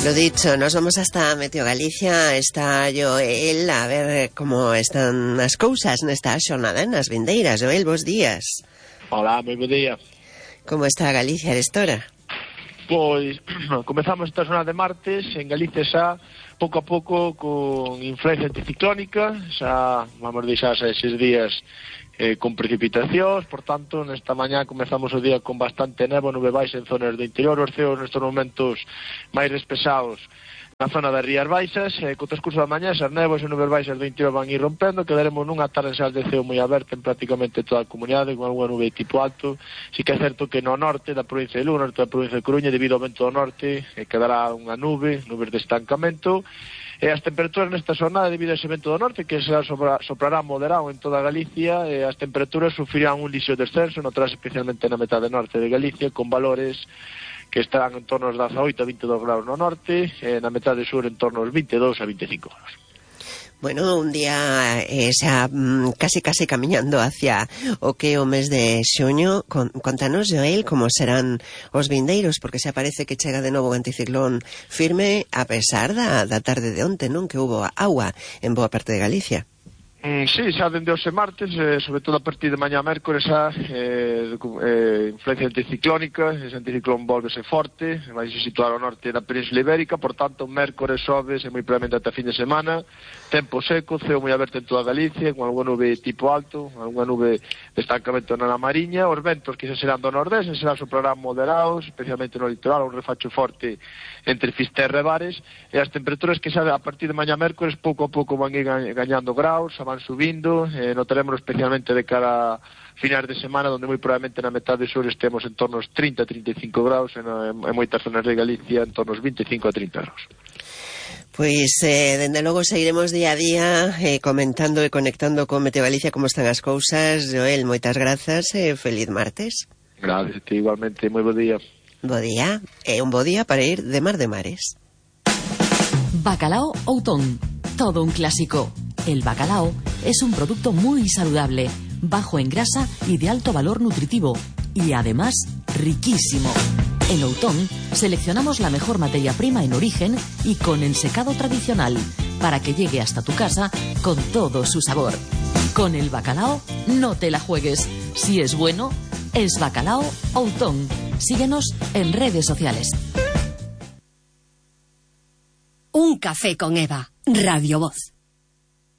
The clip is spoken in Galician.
Lo dicho, nos vamos hasta Meteo Galicia. Está Joel a ver como están as cousas nesta xornada nas vindeiras. Joel, bons días. Hola, moi bo día. Como está Galicia destora? Pois, comezamos esta zona de martes en Galicia xa, pouco a pouco, con influencia anticiclónica, xa vamos deixar xa esses días con precipitacións, por tanto, nesta mañá comezamos o día con bastante nevo, nube baixa en zonas do interior, os ceos nestes momentos máis despesados na zona das Rías Baixas, co transcurso da mañá, esas néboas e nubes baixas do interior van ir rompendo, quedaremos nunha tarde de ceo moi aberta en prácticamente toda a comunidade, con algunha nube tipo alto. Si que é certo que no norte da provincia de Lugo, norte da provincia de Coruña, debido ao vento do norte, quedará unha nubes de estancamento. E as temperaturas nesta jornada, debido a ese vento do norte, que soprará moderado en toda Galicia, as temperaturas sufrirán un lixo descenso, notarás especialmente na metade norte de Galicia, con valores que estarán en torno aos 18 a 22 graus no norte, na metade sur en torno aos 22 a 25 graus. Bueno, un día xa casi camiñando hacia o que o mes de xuño. Contanos, Joel, como serán os vindeiros, porque xa parece que chega de novo o anticiclón firme, a pesar da tarde de onte, non? Que hubo agua en boa parte de Galicia. Sí, xa dende hoxe martes, sobre todo a partir de mañá mércores, xa influencia anticiclónica, ese anticiclón volvese forte, vai se situar ao norte da Península Ibérica, por tanto, mércores, xoves e moi probablemente ata fin de semana, tempo seco, ceo moi aberto en toda Galicia, con algunha nube tipo alto, algunha nube de estancamento na Mariña, os ventos que xa serán do nordés, xa soprarán moderados, especialmente no litoral, un refacho forte entre Fisterra e Bares, e as temperaturas que xa a partir de mañá mércores pouco a pouco van ir gañando graus, van subindo, notaremos especialmente de cara a finais de semana, onde moi probablemente na metade sur estemos en torno aos 30-35 graus, en moitas zonas de Galicia en torno aos 25 a 30 graus. Pois, dende logo, seguiremos día a día comentando e conectando con Meteo Galicia como están as cousas. Joel, moitas grazas e feliz martes. Gracias, igualmente, moi bo día. Bo día, e un bo día para ir de mar de mares. Bacalao Outón, todo un clásico. El bacalao es un producto muy saludable, bajo en grasa y de alto valor nutritivo, y además riquísimo. En Outón seleccionamos la mejor materia prima en origen y con ensecado tradicional, para que llegue hasta tu casa con todo su sabor. Con el bacalao no te la juegues. Si es bueno, es Bacalao Outón. Síguenos en redes sociales. Un café con Eva, Radio Voz.